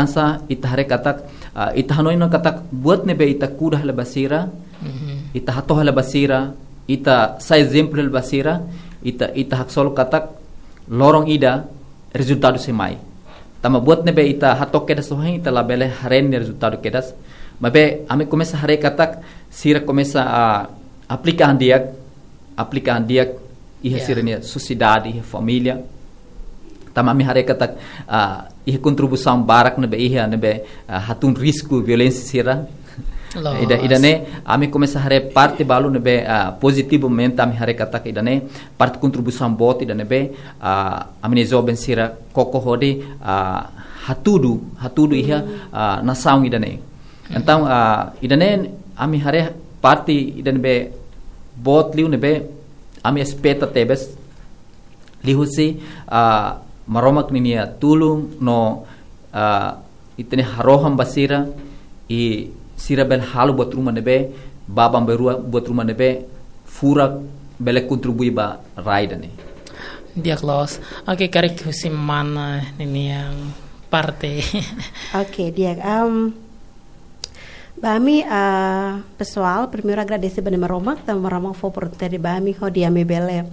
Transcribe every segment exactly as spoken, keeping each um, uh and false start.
Ansa ita haree katak, ah, ita hanoin ona katak buat ne'ebé ita kuda hela ba sira, ita hato'o hela ba sira, ita sai ezemplu hela ba sira, ita, ita haksolok katak loron ida rezultadu sei mai. Tanba buat ne'ebé ita hato'o kedas ohin, ita labele haree nia rezultadu kedas. Maibé ami komesa haree katak sira komesa, ah, aplika an di'ak, aplika an di'ak iha sira-nia sosiedade, iha família. Tanba ami haree katak, ah, iha kontribuisaun barak ne'ebé iha ne'ebé, ah, hatún risku violénsia sira. Loos. Ida, ida-ne'e ami komesa haree parte balu ne'ebé, ah, pozitivamente ami haree katak ida-ne'e parte kontribuisaun boot ida ne'ebé, ah, ami-nia joven sira koko hodi, ah, hatudu, hatudu iha, ah, nasaun ida-ne'e. Entaun, ah, ida-ne'e ami haree parte ida ne'ebé boot liu ne'ebé ami espeta tebes liuhusi, ah, Maromak ninia tulun no, ah, ita-nia harohan ba sira, i sira bele halo buat ruma ne'ebé, bá ba rua buat ruma ne'ebé, furak bele kontribui ba rai ida-ne'e. Di'ak loos. Oke, karik husi mana ninia parte. Oke, di'ak. Am, ba ami, ah, pesoál, primeiru agradese ba Nai Maromak, tanba Maromak fó oportunidade ba ami hodi ami bele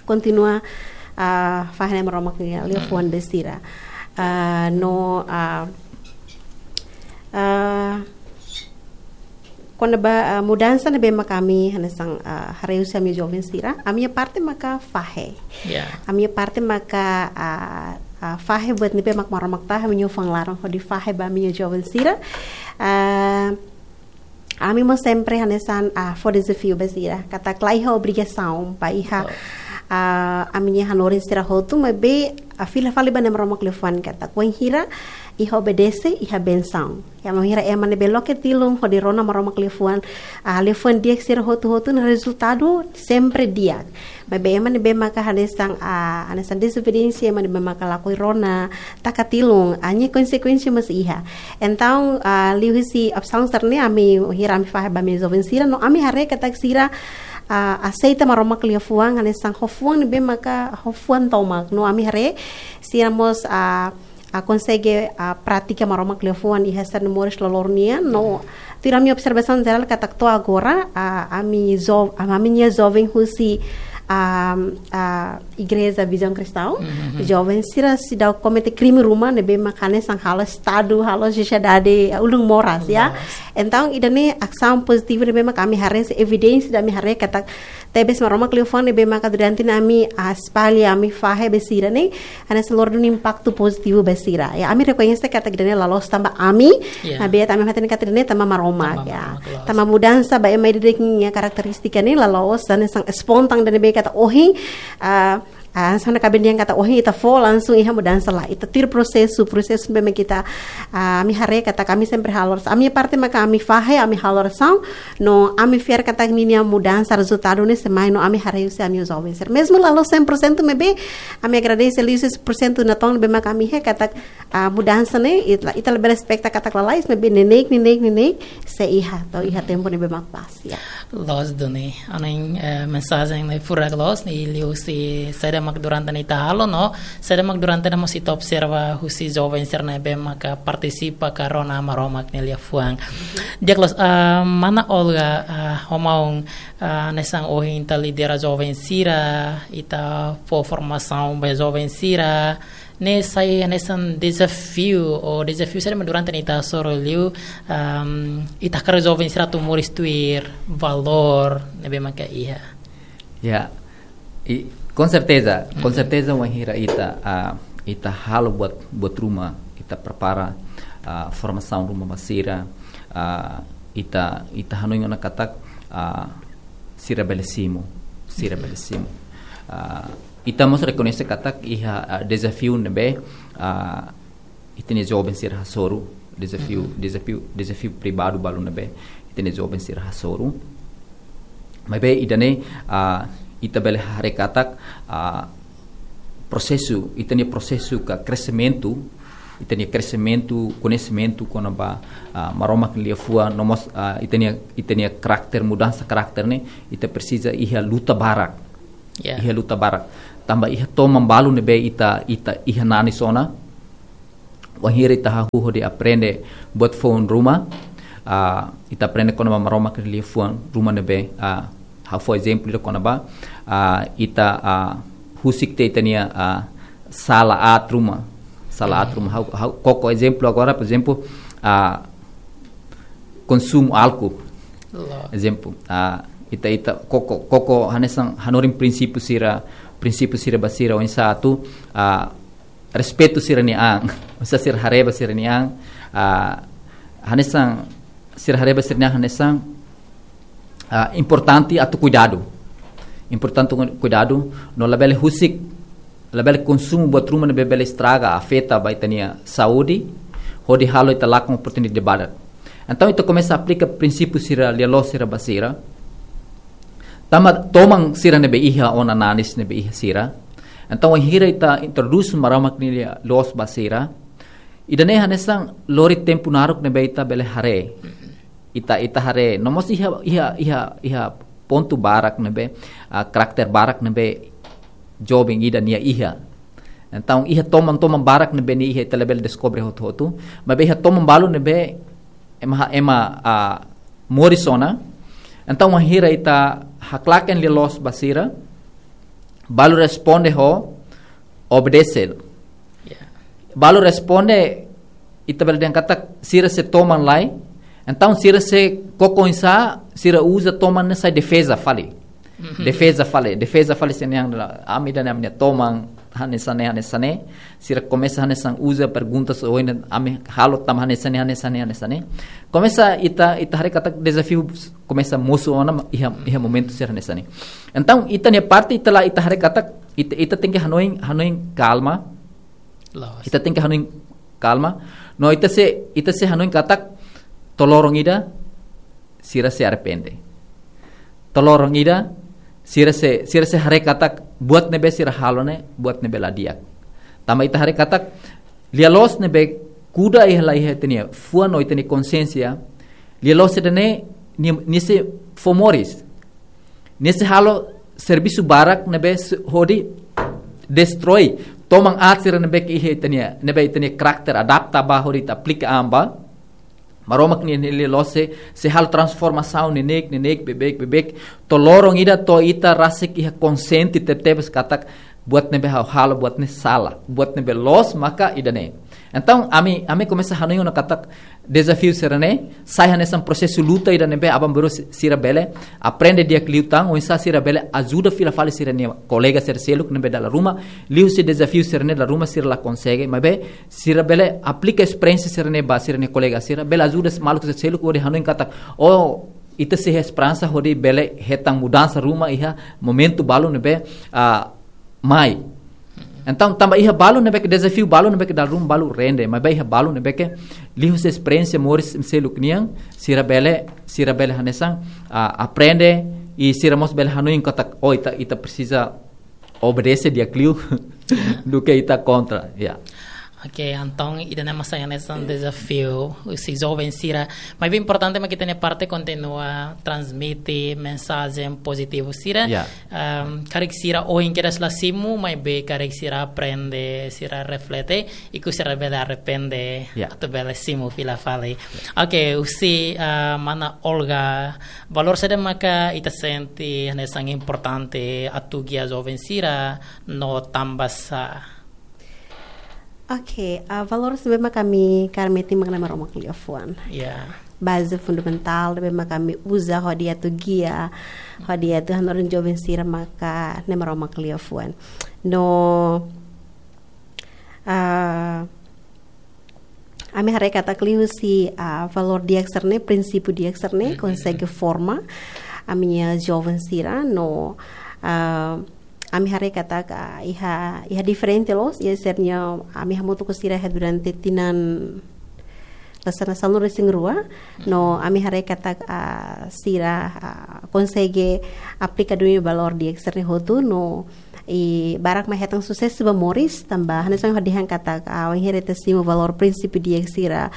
kontinua, ah, fahe Nai Maromak nia liafuan ba sira. Ah, no, ah, ah, kona-ba, ah, mudansa ne'ebé maka ami hanesan, ah, haree husi ami joven sira, ami-nia parte maka fahe. Ya. Ami-nia parte maka, ah, ah, fahe buat ne'ebé mak Maromak tahan ami-nia fuan laran hodi fahe ba ami-nia joven sira. Ah, ami mós sempre hanesan, ah, fó dezafiu ba sira. Katak la iha obrigasaun ba iha, ah, ami-nia hanorin sira hotu, maibé, ah, fila fali ba Nai Maromak liafuan katak wainhira iha obedese, iha bensaun. Ya, wainhira ema ne'ebé loke tilun hodi rona Maromak liafuan, ah, liafuan di'ak sira hotu-hotu no rezultadu sempre di'ak. Maibé ema ne'ebé maka hanesan, ah, hanesan dezobediénsia, ema ne'ebé maka lakohi rona, taka tilun, ah, nia konsekuénsia mós iha. Entaun, ah, liuhusi opsaun sira-ne'e ami, wainhira ami fahe ba ami joven sira, no ami haree katak sira, ah, aseita Maromak liafuan, hanesan ho fuan ne'ebé maka ho fuan tomak. No ami haree sira mós, ah, ah, konsege, ah, pratika Maromak liafuan iha sira-nia moris loroloron nian, no tuir ami observasaun jerál katak to'o agora, ah, ami jo-, ah, ami-nia joven husi, ah, ah, Igreja Visão Cristã, joven sira seidauk komete krime ruma ne'ebé maka hanesan halo estadu, halo sosiedade, ah, ulun moras, ya. Entaun, ida-ne'e asaun pozitivu ne'ebé maka ami haree, evidénsia ida ami haree katak tebes Maromak liafuan ne'ebé maka durante ne'e ami, ah, espalla, ami fahe ba sira-ne'e, hanesan lori duni impaktu pozitivu ba sira. Ya, ami rekoñese katak ida-ne'e la loos tanba ami, maibé ami hatene katak ida-ne'e tanba Maromak, ya. Tanba Maromak, loos. Tanba mudansa ba ema ida-idak nia karakterístika ne'e la loos, hanesan espontáneu ida ne'ebé katak ohin, ah, ah, hanesan kaben dehan katak ohin ita fó langsung iha mudansa, lae. Ita tuir prosesu, prosesu ne'ebé mak ita, ah, ami haree katak ami sempre halo. Ami-nia parte maka ami fahe, ami halo orasaun, no ami fiar katak ninia mudansa rezultadu ne'e sei mai no ami haree husi ami joven sira. Mezmu la loos cem por cento maibé, ami agradese liu cem por cento natoon ne'ebé maka ami haree katak, ah, mudansa ne'e, ita, ita labele espeta katak lalais, maibé neineik, neineik, neineik, sei iha, to'o iha tempu ne'ebé mak pas, ya. Loos duni, ohin, eh, mensajen ne'e furak loos, i liuhusi saida mak durante ne'e ita halo, no saida mak durante ne'e mós ita observa husi joven sira ne'ebé maka partisipa ka rona Maromak nia liafuan. Di'ak loos, ah, mana Olga, ah, ho maun, ah, hanesan ohin ita lidera joven sira, ita fó formasaun ba joven sira, ne'e sai hanesan dezafiu, ou dezafiu saida mak durante ne'e ita hasoru liu, am, ita hakarak joven sira atu moris tuir valór ne'ebé maka iha. Ya, i, com certeza, com certeza wainhira ita, ah, ita halo buat, buat ruma, ita prepara, ah, formasaun ruma ba sira, ah, ita, ita hanoin ona katak, ah, sira bele simu, sira bele simu. Ah, ita mós rekoñese katak iha, ah, dezafiu ne'ebé, ah, ita-nia joven sira hasoru, dezafiu, dezafiu, dezafiu pribadu balu ne'ebé ita-nia joven sira hasoru. Maibé ida-ne'e, ah, ita bele haree katak, ah, prosesu, ita-nia prosesu ka kresimentu, ita-nia kresimentu, koñesimentu kona-ba, ah, Maromak nia liafuan, no mós, ah, ita-nia, ita-nia karakter, mudansa karakter ne'e, ita presiza iha luta barak. Ya. Iha luta barak. Tanba iha toman balu ne'ebé ita, ita iha nanis ona, Wainhira ita hahú hodi aprende buat foun ruma, ah, ita aprende kona-ba Maromak nia liafuan ruma ne'ebé, ah, ha'u fó ezemplu ida kona-ba, ah, ita, ah, husik tiha ita-nia, ah, sala aat ruma. Sala aat ruma. Ha'u, ha'u koko ezemplu agora, por ezemplu, ah, konsumu álkol. Loos. Ezemplu, ah, ita, ita koko, koko hanesan hanorin prinsípiu sira, prinsípiu sira ba sira oinsá atu, ah, respeitu sira-nia an, oinsá sira haree ba sira-nia an, ah, hanesan sira haree ba sira-nia an hanesan, ah, importante atu kuidadu. Importante atu kuidadu, no labele husik, labele konsumu buat ruma ne'ebé bele estraga, afeta ba ita-nia saúde, hodi halo ita lakon oportunidade barak. Entaun, ita komesa aplika prinsípiu sira lia-loos sira ba sira. Tanba toman sira ne'ebé iha ona nanis ne'ebé iha sira. Entaun, wainhira ita introdús Maromak nia lia-loos ba sira, ida-ne'e hanesan lori tempu naruk ne'ebé ita bele haree. Ita, ita haree. No mós iha, iha, iha, iha pontu barak ne'ebé, ah, karakter barak ne'ebé joven ida-ne'e iha. Entaun, iha toman-toman barak ne'ebé nia iha ita labele deskobre hotu-hotu. Maibé iha toman balu ne'ebé ema, ema, ah, moris ona. Entaun, wainhira ita haklaken lia-loos ba sira, balu responde ho obedese. Ya. Balu responde, ita bele dehan katak sira sei toman lai. Entaun, sira sei koko oinsá, sira uza toman ne'e sai defeza fali. Mhm. Defeza fali, defeza fali sira-nia an, ami ida-ne'e ami-nia toman, hanesan ne'e, hanesan ne'e. Sira komesa hanesan uza perguntas ohin ami halo tanba hanesan ne'e, hanesan ne'e, hanesan ne'e. Komesa ita, ita haree katak dezafiu komesa mosu ona iha, iha momentu sira hanesan ne'e. Entaun, ita-nia parte, ita la, ita haree katak, ita, ita tenke hanoin, hanoin kalma. Loos. Ita tenke hanoin kalma. No ita sei, ita sei hanoin katak, to'o loron ida, sira sei arrepende. To'o loron ida, sira sei, sira sei haree katak buat ne'ebé sira halo ne'e, buat ne'ebé la di'ak. Tanba ita haree katak, lia-loos ne'ebé kuda iha la iha ita-nia fuan no ita-nia konsiénsia, lia-loos ida-ne'e, nia, nia sei fó moris. Nia sei halo servisu barak ne'ebé se-, hodi destroi toman aat sira ne'ebé ke iha ita-nia, ne'ebé ita-nia karakter adapta ba hodi ita aplika an ba. Maromak nia, nia lia-loos sei, sei halo transformasaun neineik, neineik, beibeik, beibeik. To'o loron ida to'o ita rasik iha konsiente tebetebes katak buat ne'ebé ha'u halo, buat ne'e sala, buat ne'ebé loos maka ida-ne'e. Entaun, ami, ami komesa hanoin ona katak dezafiu sira-ne'e, sai hanesan prosesu luta ida ne'ebé aban-bainrua si-, sira bele aprende di'ak liután, oinsá sira bele ajuda fila fali sira-nia kolega sira seluk ne'ebé dala ruma, liuhusi dezafiu sira-ne'e dala ruma sira la konsege, maibé sira bele aplika esperiénsia sira-ne'e ba sira-nia kolega sira, bele ajuda maluk sira seluk hodi hanoin katak, oh, ita sei iha esperansa hodi bele hetan mudansa ruma iha momentu balu ne'ebé, ah, mai. Entaun, tanba iha balu ne'ebé ke dezafiu balu ne'ebé ke dala ruma balu rende, maibé iha balu ne'ebé ke liuhusi esperiénsia moris seluk nian, sira bele, sira bele hanesan, ah, aprende, i sira mós bele hanoin katak, oh, ita, ita presiza obedese di'ak liu, duké ita kontra, ya. Oke, entaun, ida-ne'e mak sai hanesan dezafiu husi joven sira. Maibé importante mak ita-nia parte kontinua transmite mensajen pozitivu sira. Ya. Ehm, karik sira ohin kedas la simu, maibé karik sira aprende, sira reflete, ikus sira bele arrepende, ya, atu bele simu fila fali. Oke, husi, eh, mana Olga, valór saida maka ita sente hanesan importante atu gia joven sira no tanbasá? Oke, ah, valór saida maka ami kaer metin mak Na'i Maromak liafuan. Ya. Baze fundamentál saida maka ami uza hodi atu gia, hodi atu hanorin joven sira maka Na'i Maromak liafuan. No, ah, ami haree katak liuhusi, ah, valór di'ak sira-ne'e, prinsípiu di'ak sira-ne'e, mhm, konsege forma ami-nia joven sira no, ah, ami haree katak, ah, iha, iha diferente loos, iha sira-nia, ami hamutuk ho sira iha durante tinan la sana sanulu-resin-rua, no, mhm, ami haree katak, ah, sira, ah, konsege aplika duni valór di'ak sira-ne'e hotu no, I barak mak hetan susesu ba moris, tanba hanesan hodi han katak, ah, wainhira ita simu valór prinsípiu di'ak sira,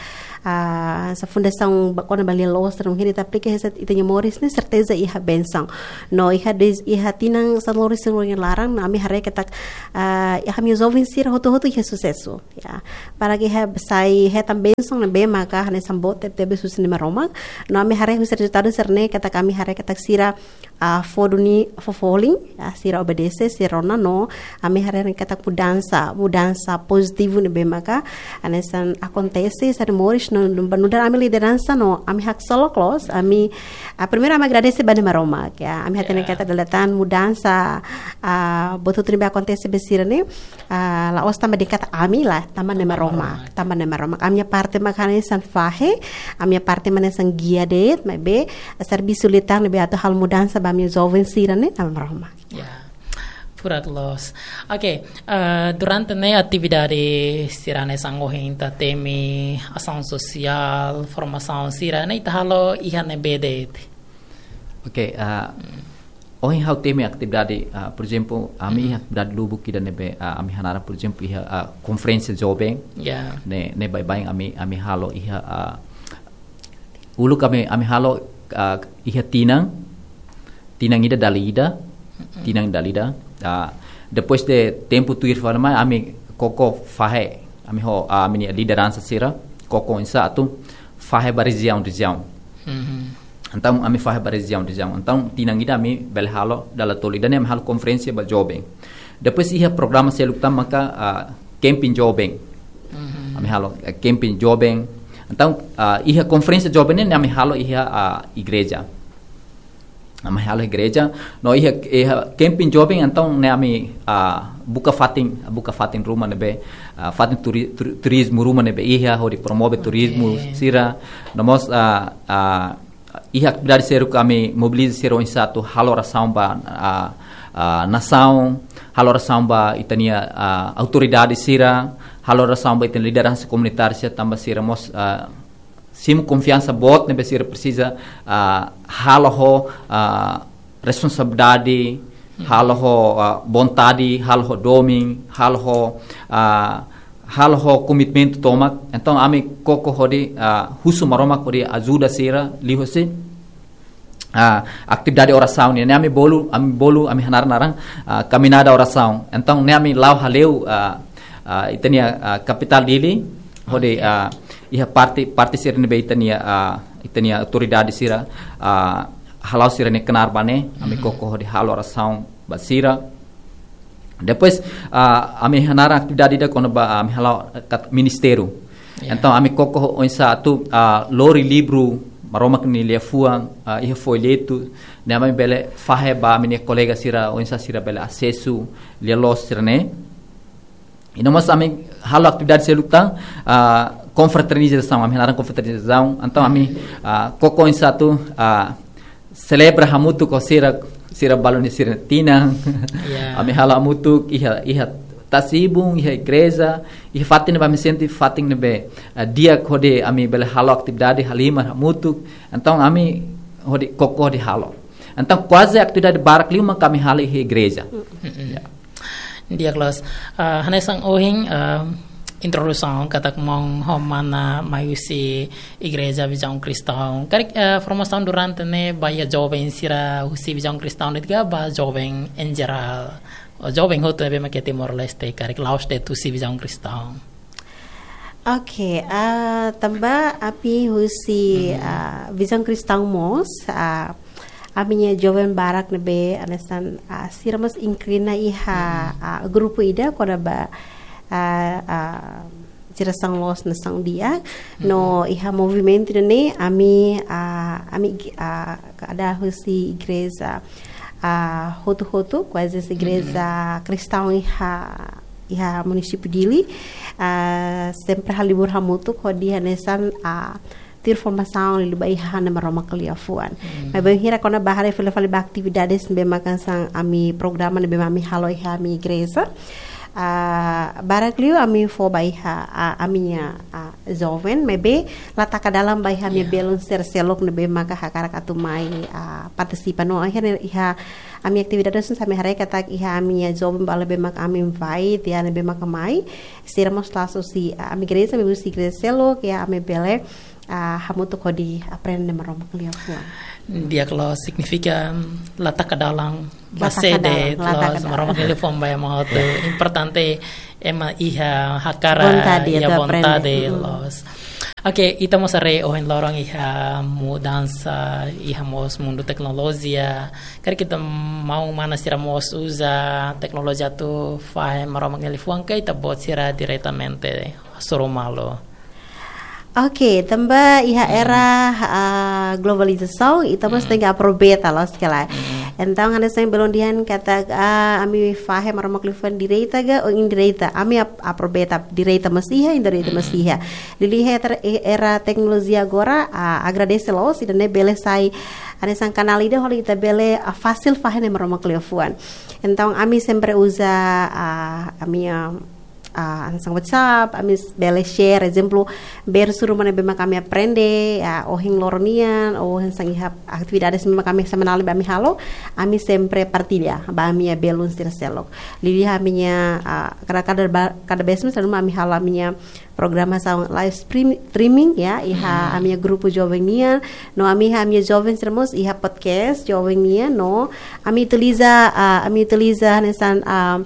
ah, hanesan fundasaun ba kona-ba lia-loos sira, wainhira ita aplika hanesan ita-nia moris ne'e, serteza iha bensaun. No iha des-, iha tinan sanulu-resin-rua nia laran, no ami haree katak, ah, iha ami-nia joven sira hotu-hotu iha susesu. Ya, para ke iha sai hetan bensaun ne'ebé maka hanesan boot tebetebes husi Nai Maromak. No ami haree husi rezultadu sira-ne'e katak ami haree katak sira, ah, fó duni, fó folin, ah, sira obedese, sira rona no ami haree katak mudansa, mudansa pozitivu ne'ebé maka hanesan akontese iha moris no, no, no nu'udar ami lideransa no ami haksolok loos, ami, ah, primeiru ami agradese ba Nai Maromak, ya. Ami hatene Ya. katak dala ida tan mudansa, ah, buat hotu ne'ebé akontese ba sira-ne'e, ah, la'ós tanba de'it katak ami lae, tanba Nai Maromak, tanba Nai Maromak. Ami-nia parte mak hanesan fahe, ami-nia parte mak hanesan gia de'it, maibé servisu liután ne'ebé atu halo mudansa ba ami-nia joven sira-ne'e, Nai Maromak. Ya. Furak loos. Oke, eh, durante ne'e atividade sira hanesan ohin ita temi asaun sosiál, formasaun sira-ne'e ita halo iha ne'ebé de'it? Oke, ah, ohin ha'u temi atividade, ah, por ezemplu, ami iha atividade lubuk ida ne'ebé, ah, ami hanaran, por ezemplu, iha, ah, konferénsia joven. Ya. Ne'e, ne'e baibain ami, ami halo iha, ah, uluk ami, ami halo, ah, iha tinan, tinan ida dala ida, tinan dala ida. Ah, depois de tempu tuir fali mai, ami koko fahe, ami ho, ah, ami-nia lideransa sira, koko oinsá atu fahe ba rejiaun, rejiaun. Entaun, ami fahe ba rejiaun, rejiaun. Entaun, tinan ida ami bele halo, dala tolu ida ne'e ami halo konferénsia ba joven. Depois iha programa seluk tan maka, ah, camping joven. Ami halo, eh, camping joven. Entaun, ah, iha konferénsia joven ne'e ami halo iha, ah, igreja. Ami halo igreja. No iha, iha camping joven, entaun ne'e ami, ah, buka fatin, buka fatin ruma ne'ebé, ah, fatin turi-, turi-, turizmu ruma ne'ebé iha, hodi promove Oke. turizmu sira. No mós, ah, ah, iha atividade seluk ami mobiliza sira oinsá atu halo orasaun ba, ah, ah, nasaun, halo orasaun ba ita-nia, ah, autoridade sira, halo orasaun ba ita-nia lideransa komunitária sira tanba sira mós, ah, simu konfiansa boot ne'ebé sira presiza, ah, halo ho, ah, responsabilidade, halo ho, ah, vontade, halo ho domin, halo ho, ah, halo ho komitmentu tomak. Entaun, ami koko hodi, ah, husu Maromak hodi ajuda sira, liuhusi, ah, atividade orasaun nian. Ne'e ami bolu, ami bolu, ami hanaran naran, ah, kaminada orasaun. Entaun, ne'e ami la'o hale'u, ah, ah, ita-nia, ah, kapitál Dili, hodi, Oke. ah, iha parte, parte sira ne'ebé ita-nia, ah, ita-nia autoridade sira, ah, hala'o sira-nia knaar ba ne'e, ami Mhm. koko hodi halo orasaun ba sira. Depois, ah, ami hanaran atividade ida kona-ba, ah, ami hala'o, ah, kat-, ministériu. Ya. Entaun, ami koko oinsá atu, ah, lori livru Maromak nia liafuan, ah, iha folhetu, ne'e ami bele fahe ba ami-nia kolega sira, oinsá sira bele asesu lia-loos sira-ne'e. I no mós ami halo atividade seluk tan, ah, konfraternizasaun, ami hanaran konfraternizasaun. Entaun ami, ah, koko oinsá atu, ah, selebra hamutuk ho sira, sira balun sira tinan. Ya. Ami halo hamutuk iha, iha tasi-ibun, iha igreja, iha fatin ne'ebé ami sente fatin ne'ebé, ah, di'ak hodi ami bele halo atividade halimar hamutuk. Entaun ami hodi koko hodi halo. Entaun kuaze atividade barak liu mak ami halo iha igreja. Mm-mm. Ya. Di'ak loos. Ah, hanesan ohin, ah, introdusaun katak maun ho mana mai husi Igreja Vizaun Kristaun. Karik, ah, formasaun durante ne'e ba iha joven sira husi Vizaun Kristaun de'it ka ba joven em geral? Ou joven hotu ne'ebé mak iha Timor-Leste, karik la'ós de'it husi Vizaun Kristaun? Oke, ah, tanba ami husi, Mhm. ah, Vizaun Kristaun mós, ah, ami-nia joven barak ne'ebé hanesan, ah, sira mós inklina iha, Mhm. ah, grupu ida kona-ba, ah, ah, jerasaun loos nasaun di'ak. No Mhm. iha movimentu ne'e ami, ah, ami, ah, kada husi igreja, ah, hotu-hotu, kuaze husi igreja Mhm. Kristaun iha iha munisípiu Dili, ah, sempre halibur hamutuk hodi hanesan, ah, tuir formasaun liuliu ba iha Nai Maromak nia liafuan. Hmm. Maibé bainhira kona-ba haree fila fali ba atividades ne'ebé mak hanesan ami programa ne'ebé mak ami halo iha ami igreja. Ah, barak liu ami fó ba iha, ah, ami-nia, ah, joven, maibé la taka dalan ba iha ami-nia belun sira seluk ne'ebé maka hakarak atu mai, ah, partisipa no akhirnya iha ami atividade sira ami haree katak iha ami-nia joven balu ne'ebé maka ami invite, ya, ne'ebé maka mai, sira mós la'ós husi, ah, ami igreja, maibé husi igreja seluk, ya, ami bele, ah, hamutuk hodi aprende Maromak nia liafuan. Di'ak loos, signifika la taka dalan ba sé de'it, la taka dalan, la taka dalan. Maromak nia liafuan ba ema hotu. Importante ema iha hakarak, vontade, ya, atu aprende, vontade, loos. Oke, ita mós haree ohin loron iha mudansa, iha mós mundu teknolojia. Karik ita maun-mane sira mós uza teknolojia atu fahe Maromak nia liafuan ka ita-boot sira diretamente hasoru malu? Oke, tanba iha era, ah, globalizasaun, ita mós tenke aproveita, loos ka lae. Entaun, hanesan belun dehan katak, ah, ami fahe Maromak nia liafuan direta ka, ou indireta. Ami ap-, aproveita direta mós iha, indireta mós iha. Liuliu iha era, era teknolojia agora, ah, agradese loos, ida-ne'e bele sai, hanesan kanál ida hodi ita bele, ah, fasil fahe Maromak nia liafuan. Entaun, ami sempre uza, ah, ami, ah, ah, hanesan WhatsApp, ami s-, bele share, ezemplu, versu ruma ne'ebé maka ami aprende, ah, ohin loron nian, ou hanesan iha atividades ne'ebé maka ami semanál ne'ebé ami halo, ami sempre partilla ba ami-nia belun sira seluk. Liuliu ami-nia, ah, kada, kada ba-, kada vez mós ami halo ami-nia programasaun live stream-, streaming, ya, iha ami-nia grupu joven nian, no ami iha ami-nia joven sira mós iha podcast joven nian, no ami utiliza, ah, ami utiliza hanesan, ah,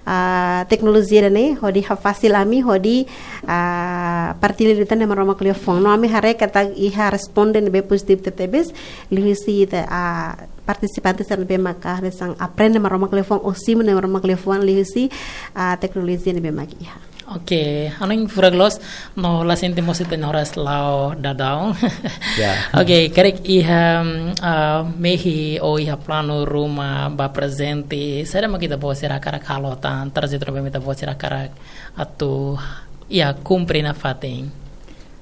ah, teknolojia ida-ne'e, hodi hafasil ami, hodi, ah, partilla liután Maromak nia liafuan. No ami haree katak iha responde ne'ebé pozitivu tebetebes, liuhusi ita, ah, partisipante sira ne'ebé maka hanesan aprende Maromak nia liafuan, ou simu Maromak nia liafuan, liuhusi, ah, teknolojia ne'ebé maka iha. Oke, hanoin furak loos, no la sente mós ita-nia oras la'o daudaun. Ya. Oke, karik iha, mm, ah, mehi ou iha planu ruma ba prezente, saida mak ita-boot sira hakarak halo tan, trajetória ba ita-boot sira hakarak atu, ya, kumpre nafatin.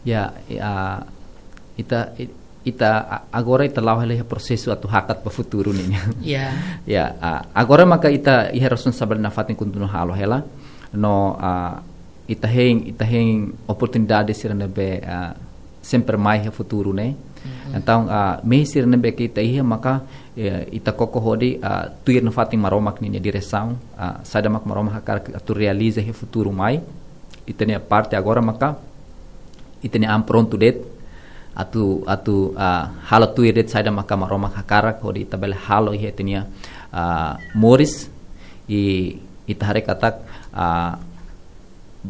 Ya, ya, ita, i-, ita a-, agora ita la'o hela iha prosesu atu hakat ba futuru nian. Ya. Ya, a-, agora maka ita iha responsabilidade nafatin kontinua halo hela. No, a, ita hein, ita hein oportunidade sira ne'ebé, a, sempre mai iha futuru ne'e. Entaun, a, mehi sira ne'ebé ke ita iha maka, eh, ita koko hodi, a, tuir nafatin Maromak ninia diresaun, a, saida mak Maromak hakarak atu realiza iha futuru mai. Ita-nia parte agora maka ita-nia an prontu de'it atu, atu, ah, halo tuir de'it saida maka Maromak hakarak hodi ita bele halo iha ita-nia, ah, moris, i ita haree katak, ah,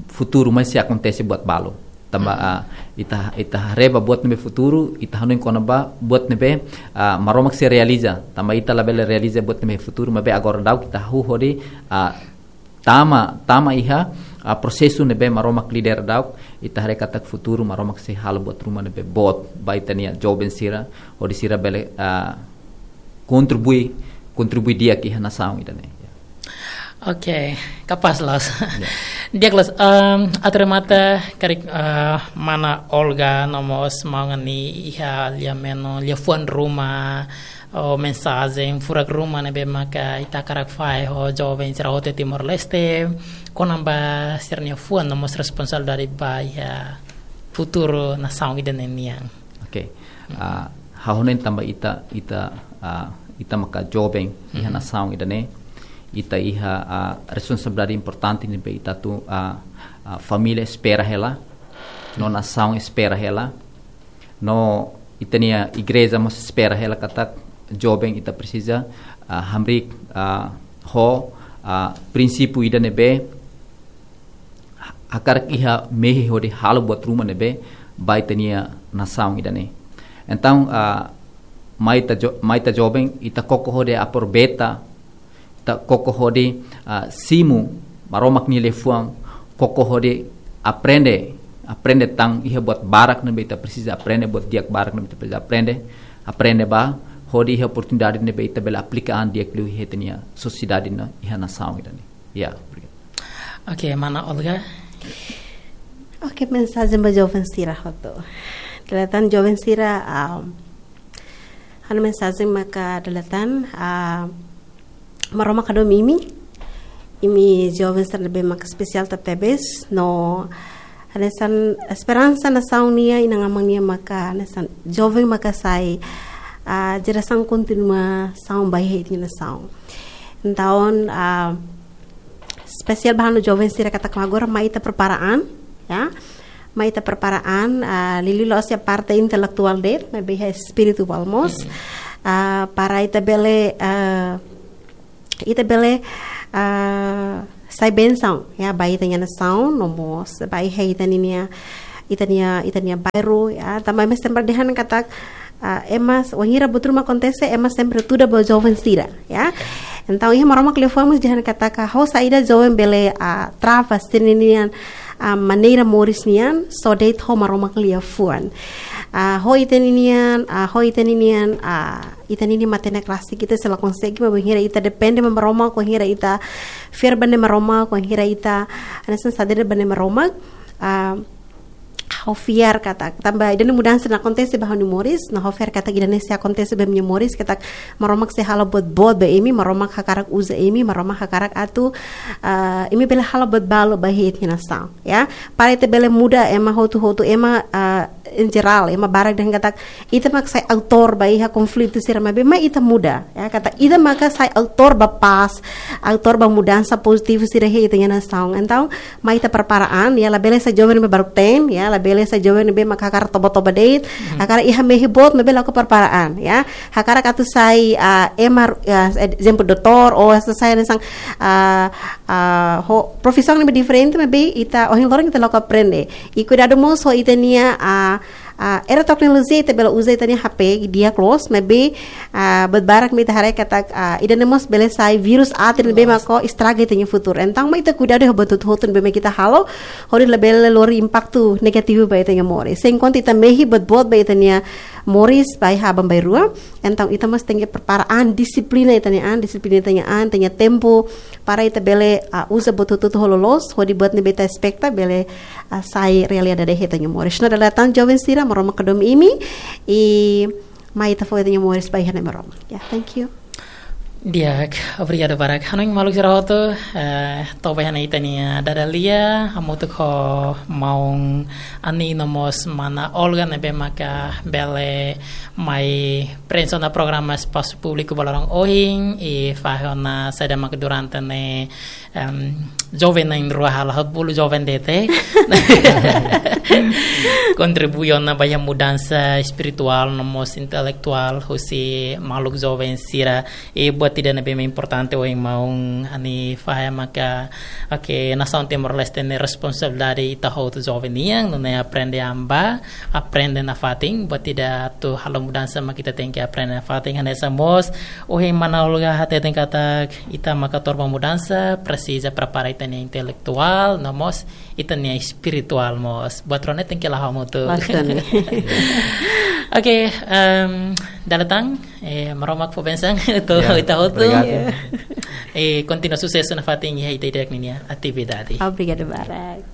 futuru mai sei akontese buat balu. Tanba, ah, ita, ita haree ba buat ne'ebé futuru, ita hanoin kona-ba buat ne'ebé, ah, Maromak sei realiza. Tanba ita labele realiza buat ne'ebé futuru, maibé agora daudauk ita hahú hodi, ah, tama, tama iha, ah, prosesu ne'ebé Maromak lidera daudauk, ita haree katak futuru Maromak sei halo buat ruma ne'ebé boot ba ita-nia joven sira, hodi sira bele, ah, kontribui, kontribui di'ak iha nasaun ida-ne'e. Oke, kapás loos. Ya. Di'ak loos, em, atu remata karik, eh, mana Olga no mós maun Ani iha lia-menon, liafuan ruma, ou mensajen furak ruma ne'ebé maka ita hakarak fahe ho joven sira hotu Timor-Leste, kona-ba sira-nia fuan no mós responsabilidade ba iha futuru nasaun ida-ne'e nian. Oke. Ah, ha'u hanoin tanba ita, ita, ah, ita maka joven iha nasaun ida-ne'e, ita iha, ah, responsabilidade importante ne'ebé ita atu, ah, ah, família espera hela, no nasaun espera hela, no ita-nia igreja mós espera hela katak joven ita presiza, ah, hamriik, ah, ho, ah, prinsípiu ida ne'ebé hakarak iha mehi hodi halo buat ruma ne'ebé ba ita-nia nasaun ida-ne'e. Entaun, ah, mai ita jo-, mai ita joven, ita koko hodi aproveita, ita koko hodi, ah, simu Maromak nia liafuan, koko hodi aprende, aprende tan iha buat barak ne'ebé ita presiza aprende, buat di'ak barak ne'ebé ita presiza aprende, aprende ba, hodi iha oportunidade ne'ebé ita bele aplika an di'ak liu iha ita-nia sosiedade no iha nasaun ida-ne'e. Ya, obrigadu. Oke, mana Olga? Oke, mensajen ba joven sira hotu. Dala ida tan joven sira, ah, ha'u-nia mensajen maka dala ida tan, ah, Maromak hadomi imi. Imi joven sira ne'ebé maka espesiál tebetebes, no hanesan esperansa nasaun nian, inan-aman nian maka hanesan joven maka sai, ah, jerasaun kontinuasaun ba iha ita-nia nasaun. Entaun, ah, espesiál ba ha'u-nia joven sira katak agora mai ita prepara an, ya. Mai ita prepara an, ah, liuliu la'ós iha parte intelektuál de'it, maibé iha espirituál mós. Ah, para ita bele, ah, ita bele, ah, sai bensaun, ya, ba ita-nia nasaun, no mós ba iha ita ninia, ita-nia, ita-nia bairru, ya, tanba ema sempre dehan katak, ah, ema, wainhira buat ruma akontese, ema sempre tuda ba joven sira, ya. Entaun, iha Maromak liafuan mós dehan katak, ho saida joven bele, ah, trava sira-nian, ah, maneira moris nian, só de'it ho Maromak liafuan. Ah, ho ita ninian, ah, ho ita ninian, ah, ita ninia matenek rasik ita sei la konsege, maibé wainhira ita depende ba Maromak, wainhira ita fiar ba Maromak, wainhira ita hanesan sadere ba Maromak, ah, ha'u fiar katak, tanba ida-ne'e mudansa ne'e akontese ba ha'u-nia moris, no ha'u fiar katak ida-ne'e sei akontese ba imi-nia moris, katak Maromak sei halo buat boot ba imi, Maromak hakarak uza imi, Maromak hakarak atu, ah, imi bele halo buat balu ba iha ita-nia nasaun, ya. Para ita bele muda ema hotu-hotu, ema, ah, em geral, ema barak dehan katak ita mak sai autór ba iha konflitu sira, maibé mai ita muda, ya, katak ita maka sai autór ba pás, autór ba mudansa pozitivu sira iha ita-nia nasaun. Entaun, mai ita prepara an, ya, labele sai joven ne'ebé baruk-teen, ya, labele sai joven ne'ebé maka hakarak toba-toba de'it, hakarak iha mehi boot, maibé la ko prepara an, ya. Hakarak atu sai, ah, ema, ya, ezemplu doutór, ou atu sai hanesan, ah, ah, ho profisaun ne'ebé diferente, maibé ita, ohin loron ita la ko aprende. I kuidadu mós ho ita-nia, ah, ah, era teknolojia ita bele uza ita-nia H P di'ak loos, maibé, ah, buat barak mak ita haree katak, ah, ida-ne'e mós bele sai vírus aat ne'ebé mak ko estraga ita-nia futuru. Entaun, mai ita kuidadu ho buat hotu-hotu ne'ebé mak ita halo, hodi labele lori impaktu negativu ba ita-nia moris. Se enkuantu ita mehi buat boot ba ita-nia moris, ba iha aban-bainrua, entaun ita mós tenke prepara an, dixiplina ita-nia an, dixiplina ita-nia an, ita-nia tempu, para ita bele, ah, uza buat hotu-hotu ho loloos, hodi buat ne'ebé ita espekta bele, ah, sai realidade iha ita-nia moris. No dala ida tan joven sira, Maromak hadomi imi, i mai ita fó ita-nia moris ba iha Nai Maromak. Ya, thank you. Di'ak, obrigadu barak. Hanoin maluk sira hotu, eh, to'o ba iha ne'e ita-nia dada-lia, hamutuk ho maun Ani no mós mana Olga ne'ebé maka bele mai prensa ona programa Espasu Públiku ba loron ohin, i fahe ona saida maka durante ne'e, em, joven na'in-rua halo, haat bolu joven de'it. Kontribui ona ba iha mudansa espirituál no mós intelektuál husi maluk joven sira. I buat ida ne'ebé mak importante ohin maun Ani fahe maka, oke, nasaun Timor-Leste ne'e responsabilidade ita hotu joven nian, nune'e aprende an ba, aprende nafatin, buat ida atu halo mudansa mak ita tenke aprende nafatin, hanesan mós ohin mana Olga hateten katak ita maka autór ba mudansa, presiza prepara ita-nia intelektuál, no mós ita-nia espirituál mós. Buat rua ne'e tenke la'o hamutuk. Bastante. Oke, em, dala ida tan, eh, Maromak fó bensaun, ita, ya, ita hotu. Obrigadu. Ya. Eh, kontinua susesu nafatin iha ita ida-idak ninia atividade. Obrigadu barak.